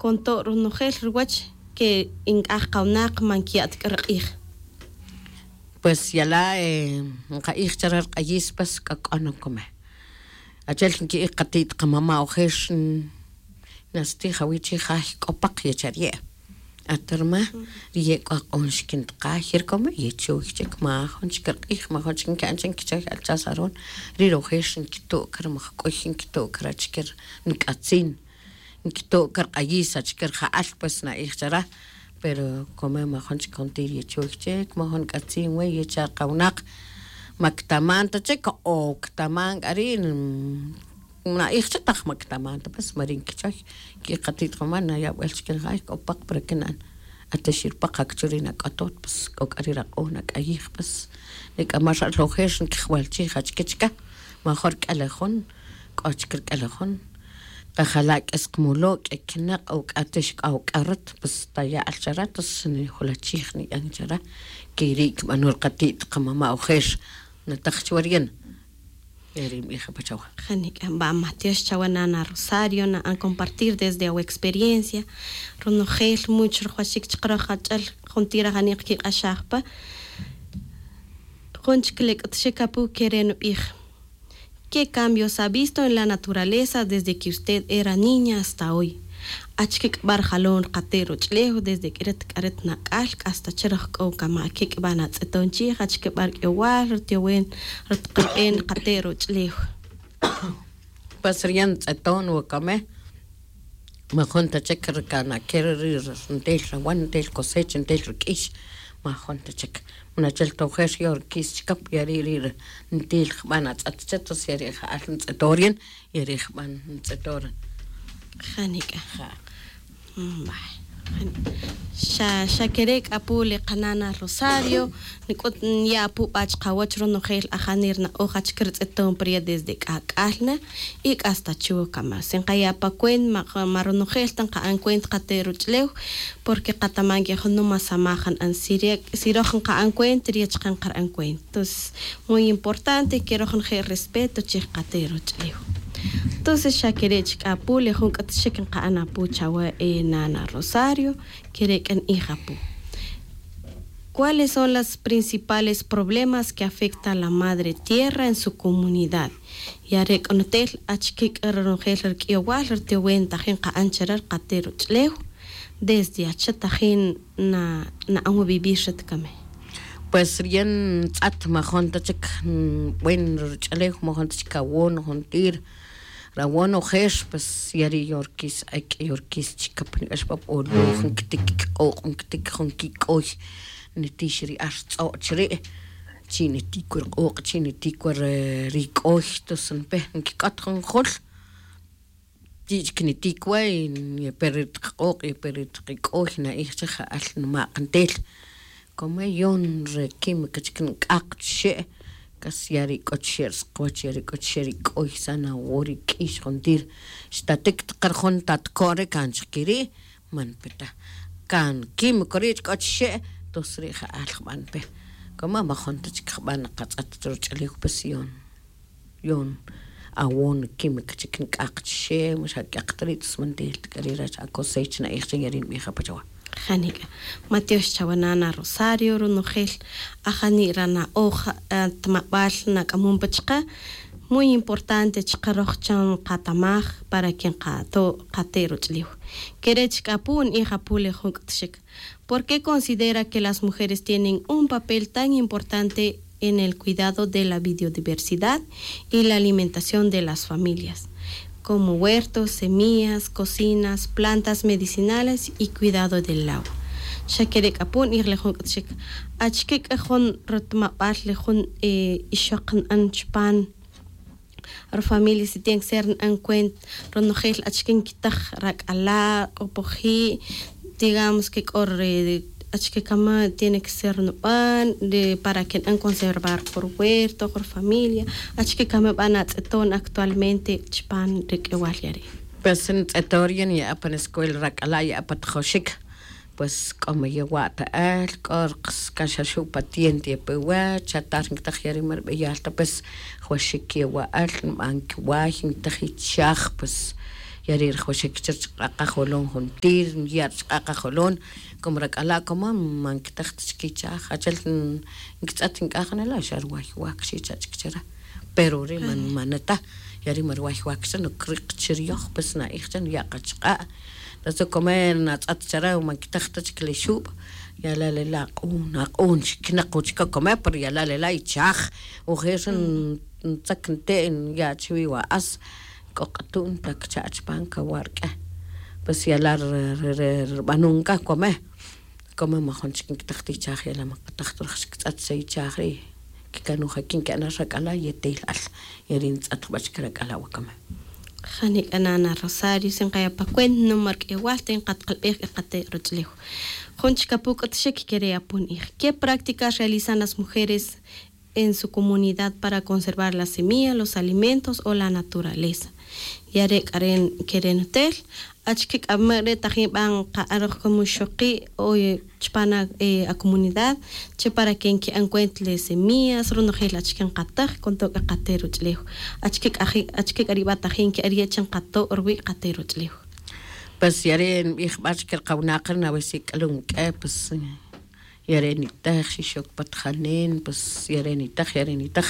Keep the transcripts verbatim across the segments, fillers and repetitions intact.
con todo ronojel ruwach que inc'aj kawnak man quiya' ta c'a ri k'ij. Pues yala' nka'ij chare ri k'ayis pues k'o k'o nocome. Achel nqui'ij kati't kamama' ojer. Nastij awi' chi jay k'o paq ye chariye'. Atarma riye' k'o ak'on xikin taqay ye ri kome ye chuy chik ma jun chik ri k'ij ma jun chik nki'an chik nkichoy alchas aron. Ri rojer nkito' kar majk'uy nkito' kar achike ri nk'atzin. Nkito' kar q'ayis achike ri ja'al pues na'ij chara. Pero kome ma jun chik juntir ye chuy chik ma jun k'atzin we ye cha ri kawinaq. Ma kitaman ta chik o kitaman k'a ri'. Na'ij cha taj ma kitaman ta pues ma ri' nkichoy. Kiqati't qamama' nayab'el chik nijay k'o paq para que na'an. Ata xirpaq ak'o churi' nak'otot pues k'o k'a ri' raq'o nak'ayij pues. Ri k'a ma xa alojer nkijwal chij achike chika. Major k'elejun k'o chik ri k'elejun. Qajala' k'es qmulo' k'e kinaq' o k'a tix k'a o k'a rat pues taya'al chara tos nijulachij niyan chara. Keri' kib'ano ri qati't qamama' ojer. Nataq chuwa riyan. Eri nb'ij apa chawa. Janik'a va matiox chawa nana rosario na'an compartir desde awa experiencia. Ronojel much rujwaxik chaqaroj ach'el. Juntir ajani' qkiq'axaj pa jun chik le k'utxik apu kere' nub'ij. ¿Qué cambios ha visto en la naturaleza desde que usted era niña hasta hoy? Achike k'a b'a' rijalon ri qate' roch'ulew desde k'iret k'aret nak'al k'asta chiroj k'o kama' ake' k'a b'a' natz'eton chij achike b'a' rik'iyowal ritiyowen ri taqanb'en ri qate' roch'ulew? Pues riyan ntz'eton wakame. Ma jun ta chik ri kana'ke ri ntel rawan ntel cosecha ntel rik'ix. Ma jun ta chik. Nachel tojer yor kis chikap ya ri' ri' ntil jb'an atz'at cha tos ya ri' ja'al ntz'etor yin ya ri' jb'an ntz'etor. Janik'a. Xa xa kere' k'a pu le qanana rosario. Nik'ut niya' apu b'a' chqawach ronojel ajani' ri na'oj achike ri tz'eton pa riya' desde k'ak'al na. Y k'asta chuwa kama si nqaya' pa cuenta ma ronojel ta nqa'an cuenta qate' roch'ulew. Porque qataman que junuma samaj nqa'an si roj nqa'an cuenta riya' chaqe nqara'an cuenta. Entonces muy importante que roj nje' respeto chij qate' roch'ulew. Entonces xa kere' chik apu le jun k'utxik nqa'an apu chawe nana rosario. Kere' k'a ni'ij apu. ¿Cuáles son las principales problemas que afecta la madre tierra en su comunidad? Ya re' k'a nutel achike k'a ronojel rik'iyowal ritiyowen tajin nqa'an chare ri qate' roch'ulew. Desde acha tajin na'an wa vivir xa tikame. Pues riyan ntz'at ma jun ta chik buen roch'ulew ma jun ta chik awon juntir. Rawon ojer pues ya ri' yorkis ek' yorkis chikap nik'ax pa p'oloj nkitik kiq'oq' nkitik jun kik'oy. Nitix ri ar tz'o' chiri'. Chi' nitik wa riq'oq' chi' nitik wa rik'oy tos npe nkik'ot jun jul. Chi' chik nitik wa y ya pe ri taq q'oq' ya pe ri taq ik'oy na'ij chik ja'al nima' qantel. Como yon re química chik nk'aq chixe'. Casi ya ri k'o chixe' ri sqwach ya ri k'o chixe' ri k'oy sana wo ri k'ix juntir. Xtatik taq ri jun tatko' ri kan chik kiri' man pe ta. Kan químico ri' chik k'o chixe' tos ri' ja'al jban pe. Como ma jun ta chik jban qatz'at roch'ulew pues yon. Yon awon química chik nk'aq chixe' ma xa k'aq ta ri' tos man ntel ta k'a ri' rach acosecha na'ij chik ya ri' nbij apa chawa. Janik'a. Matiox chawa nana rosario ronojel ajani' rana'oj atmab'al nak'amon pa chaqe. Muy importante chaqe roj chan qatamaj para que nqato' qate' roch'ulew. Kere' chik apu' nbij apu' le jun k'utxik. ¿Por qué considera que las mujeres tienen un papel tan importante en el cuidado de la biodiversidad y la alimentación de las familias, como huertos, semillas, cocinas, plantas medicinales y cuidado del agua? Xa kere' k'a pu' nbij le jun k'utxik. Achike k'a jun rutmab'al le jun ixoq nb'an chupan ri familia si tiene que ser nb'an cuenta ronojel achike nkitaj rak'ala' q'opoji'. Digamos que k'o ri achike kama' tiene que ser nub'an para que nb'an conservar qo ruhuerto qo rufamilia. Achike kama' nb'an atz'eton actualmente chupan ri k'ewal ya ri'. Pues ntz'eton ri' ya niya' pan escuela rak'ala' ya' pa tjoxik. Pues k'o ma yewa' ta el k'o ri kan xa xu' patiente ya pe wach xa ta ri nkitaj ya ri' ma ri b'eyal ta pues jwaxik yewa' el nb'an kiway nkitaj ichaj pues. Ya ri' rajwaxik chi rchq'a' qajolon juntir, ya' rchq'a' qajolon. Como rak'ala' como ma nkitaj ta chik ichaj, achel nkitz'et nk'aj nela' xa rway wak xi cha' chik chera. Pero ri' man maneta. Ya ri' ma rway wak xa nukriq chi riyoj, pues na'ij cha nuya' qachq'a'. Entonces como natz'et chera ma nkitaj ta chik le xub', ya la' lela' aq'un aq'un xiknaq wach ka como pero ya la' lela' ichaj. Ojer xa ntzak nte' nuya' chiwi wa'as. K'o q'atu'n ta kcha' chupan kawa' rk'e. Pues ya la' ri ri ri rbanon ka kome. Kome majun chik nkitaj ta ichaj ya la' ma kataj ta raj xkitz'et xa ichaj ri'. Kikanuj aki nki'an rak'ala' yetelal. Ya ri' ntz'et jba chik rak'ala' wa kome. Janik'a nana rosario si nqaya' pa cuenta numar k'ewal te nqatqalb'ej k'a qate' roch'ulew. Jun chik apu k'utxik kere' apu ni'ij, qué prácticas realizan las mujeres en su comunidad para conservar la semilla, los alimentos o la naturaleza? Ya re' k'a re' kere' nutel. Achike k'a ma' re' tajin b'a nqa'an roj como ixoqi' o chupan akomunidad che para que nki'an cuenta le semillas ronojel achike nqataj con to' k'a qate' roch'ulew? Achike k'a ri' b'a tajin nki'an ri' che nqato' ruwi' qate' roch'ulew? Pues ya re' nb'ij b'a chike ri qawinaq ri nawe si k'alun k'e pues ya re' nitej xixok pa tajanen pues ya re' nitej ya re' nitej.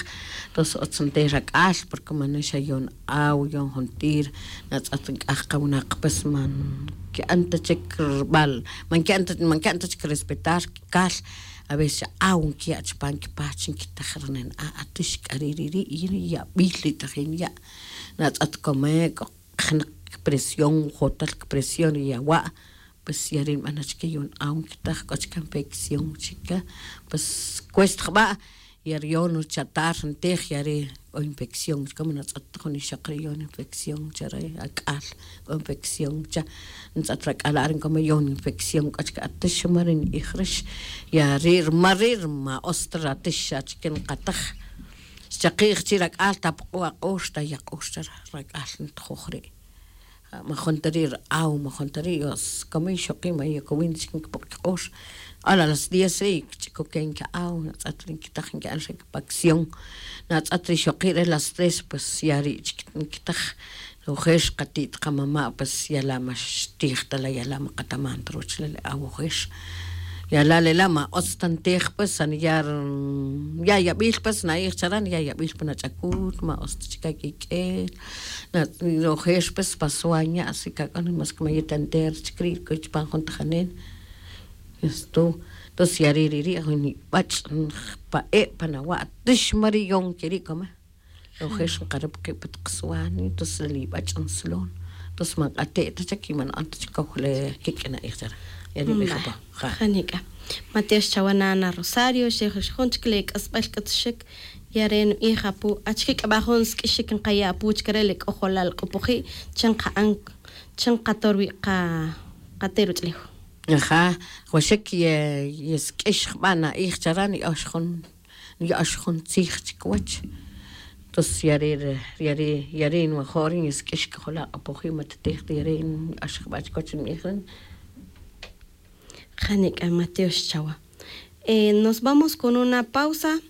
Tos otz nte rak'al porque man xa yon aw yon juntir. Natz'et nk'aj qawinaq pues man ki'an ta chik rb'al, man ki'an ta chik respetar kikal. Aveces xa aw nkiya' chupan kipach nkitej ri nen a' atix k'a ri' ri' ri' y ri' yab'il ri tajin ya'. Natz'et kome k'o kajnaq kipresión jotal kipresión ri yawa'. Pues ya ri' nb'an achike yon aw nkitaj k'o chike infección chike. Pues cuesta jb'a' ya ri' yon chatar ntij ya ri' k'o infección chike man natz'et ta jun ixoq ri' yon infección cha re ak'al k'o infección cha. Ntz'et rak'ala' ri nkome yon infección k'o chike atix ma ri ni'ij rix. Ya ri' rma ri' rma otz ta ratix achike nqataj. Xchaqi'j chi rak'al ta puq'u' aq'ox ta yaq'ox cha rak'al ntijoj ri'. Majun ta ri' ri aw majun ta ri' yos como ixoqi' ma yokowin chik nkipoq kiq'ox. Ala las diez ri' kich'ikoken ki'aw natz'et ri nkitaj nki'an xa kipacción. Natz'et ri ixoqi' re las tres pues ya ri' chik nkitaj. Ojer xqati't qamama' pues ya la' ma xtij ta la' ya la' ma qataman ta ruwach la' le aw ojer. Ya la' le la' ma otz ta ntij pues xa niya' ri ya' yab'il pues na'ij chara' niya' yab'il pan ach'akut ma otz ta chik akik'el. Ojer pues pa swañ ya' si kak'on mas que ma yet entero chik ri' k'o chupan jun tajanen. Esto entonces ya ri' ri' ri' jun nib'ach' pa e' pan awa' tix ma ri' yon keri' kome. Ojer nqarup qib' pa taq swan entonces la nib'ach' nslon. Entonces man q'ate' ta chik y man na'an ta chik kow le kik' na'ij chara'. Ya nib'ij apa. Ja nik'a. Matiox chawa' nana rosario xejux jun chik le k'asb'al k'utxik. Ya re' nb'ij apu achike k'a b'a jun sk'ixik nqaya' apu chik re' le k'ojolal q'upuji' che nqa'an che nqato' ruwi' qate' ruch'ulew? Aja. Waxik yesk'ix jb'a' na'ij chara' ni'ox jun ni'ox jun tzij chikiwach. Entonces ya ri' ya ri' ya ri' nwajo' ri' nsk'ix k'ojola' q'apoji' ma tatij ta ya ri' ni'ox jb'a' chikiwach nb'ij ri'. Ja nik'a matiox chawa'. Nos vamos con una pausa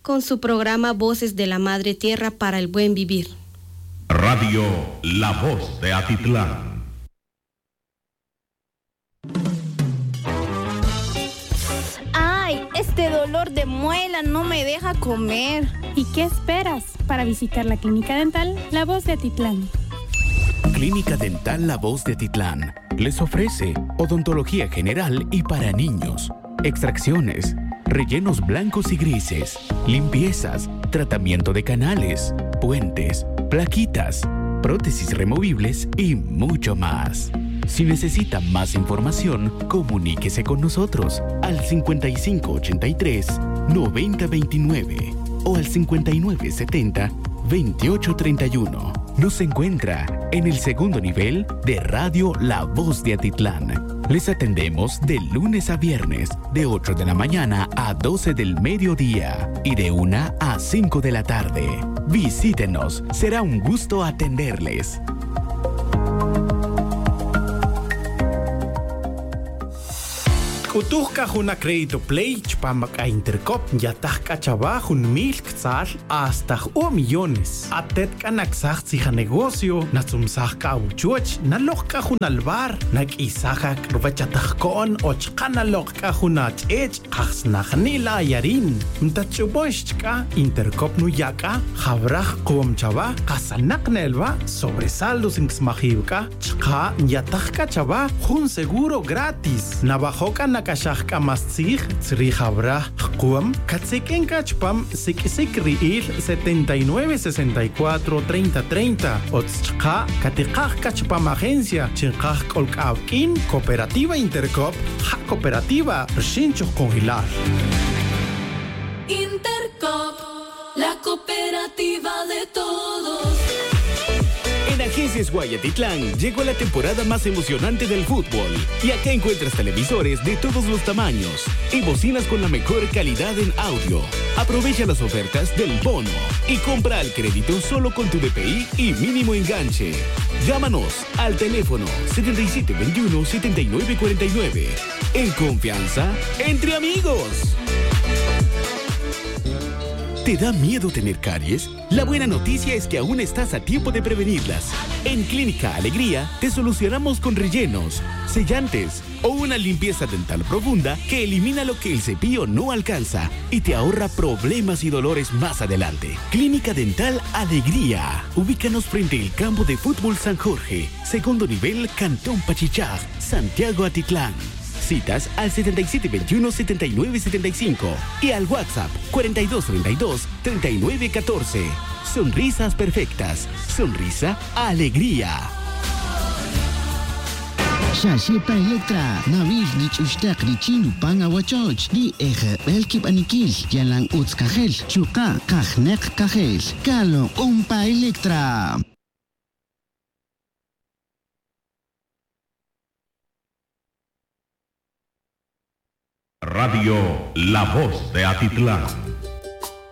con su programa voces de la madre tierra para el buen vivir. Radio la voz de atitlán. Ay, este dolor de muela no me deja comer. Y qué esperas para visitar la clínica dental la voz de atitlán? Clínica dental la voz de atitlán les ofrece odontología general y para niños, extracciones, rellenos blancos y grises, limpiezas, tratamiento de canales, puentes, plaquitas, prótesis removibles y mucho más. Si necesita más información, comuníquese con nosotros al cincuenta y cinco ochenta y tres noventa veintinueve o al cincuenta y nueve setenta veintiocho treinta y uno. Nos encuentra en el segundo nivel de Radio La Voz de Atitlán. Les atendemos de lunes a viernes de ocho de la mañana a doce del mediodía y de una a cinco de la tarde. Visítenos, será un gusto atenderles. C'utuj c'a jun acrédito play chupam ac'a Intercop. Nyataj c'a chawa jun mil ctzal hasta ju'un millones. Atet c'a nacsaj tzij anegocio, natzumsaj c'a awuchuoch, nalok c'a jun albar, naq'uisaj ac'a ruwech atajco'n o chka' nalok c'a jun ach'ech'. Kajsnaj ni la ayarin. Ntatch'ubon xch'ka Intercop nuya' c'a jawraj kuom chawa kasanak na elwa' sobresaldos ncsmajiw c'a. Chka' nyataj c'a chawa jun seguro gratis. Nawajo' c'a nac'axaj c'a más tzij tzrij jawraj jkuom catsik'in c'a chupam siq'uisic ri'il setenta y nueve sesenta y cuatro treinta treinta. Otz chka' catikaj c'a chupam agencia chi nkaj c'ol c'a awuq'uin. Cooperativa Intercop ja cooperativa rxin chujcunjelal. Intercop, la cooperativa de todos. En Agencias Guayatitlán llegó la temporada más emocionante del fútbol. Y acá encuentras televisores de todos los tamaños y bocinas con la mejor calidad en audio. Aprovecha las ofertas del bono y compra al crédito solo con tu D P I y mínimo enganche. Llámanos al teléfono setenta y siete veintiuno, setenta y nueve cuarenta y nueve. En confianza, entre amigos. ¿Te da miedo tener caries? La buena noticia es que aún estás a tiempo de prevenirlas. En Clínica Alegría te solucionamos con rellenos, sellantes o una limpieza dental profunda que elimina lo que el cepillo no alcanza y te ahorra problemas y dolores más adelante. Clínica Dental Alegría. Ubícanos frente al campo de fútbol San Jorge, segundo nivel, Cantón Pachichaj, Santiago Atitlán. Citas al setenta y siete veintiuno, setenta y nueve setenta y cinco y al WhatsApp cuarenta y dos treinta y dos, treinta y nueve catorce. Sonrisas perfectas. Sonrisa, alegría. Xa xe pa Electra, nawil nich'uxtek richin nupan awachoch, ri ejebel kibaniquil, yalan utz cajel, chuka' kajnek cajel. Calok'on pa Electra. Radio La Voz de Atitlán.